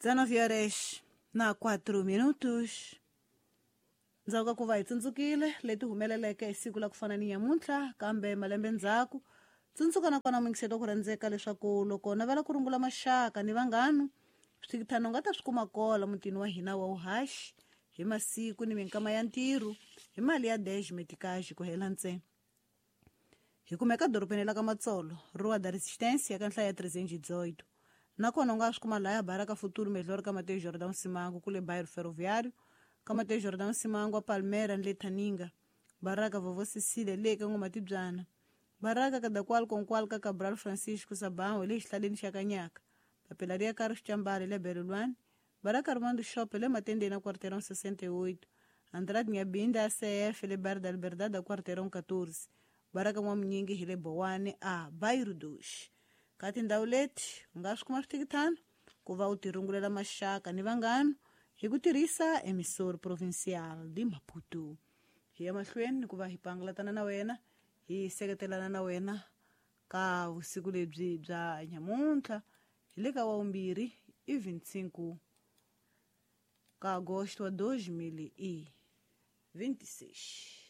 19 horas na 4 minutos. Ndzhaku ka ku va hi tsundzukile leti humeleleke hi siku la ku fana ni nyamuntlha kambe malembe ndzhaku, tsundzuka na kona muyingiseti wa ku rhandzeka leswaku loko navela ku rungula maxaka ni vanghanu, swithikithano u nga ta swi kuma kola mutini wa hina wa uhaxi hi masiku ni minkama ya ntirho hi mali ya 10 metikaji ku hela ntsena. Hi kumeka dorobeni la ka Matsolo, Rua da Resistência, ka nhlayo ya 318. Nakona u nga swi kuma laya Baraka Futuro Melhor ka Mateus Jordão Simango kule Bairro Ferroviário, ka Mateus Jordão Simango a Palmeiras ni le Thaninga, Baraka Vovó Cecília le ka Ngomatibyana, Baraka Kadakwal Konkwal ka Cabral Francisco Sabão le xihlaleni xa Kanyaka, Papelaria Carlos Chambale le Berulwani, Baraka Armando Shop le Matendeni a Quarteirão 68, Andrade Nyabinda ACF le Bairro da Liberdade a Quarteirão 14, Baraka N'wamunyingi hi le Bowane a Bairro 2. Ka tindhawu leti u nga swi kuma swithikithano ku va u tirungulela maxaka ni vanghanu hi ku tirhisa Emissor Provincial de Maputo. Hi ya mahlweni ni ku va hi pangalatana na wena, hi seketelana na wena ka vusiku lebyi bya nyamuntlha hi le ka wawumbirhi i 25 ka agosto wa 2026.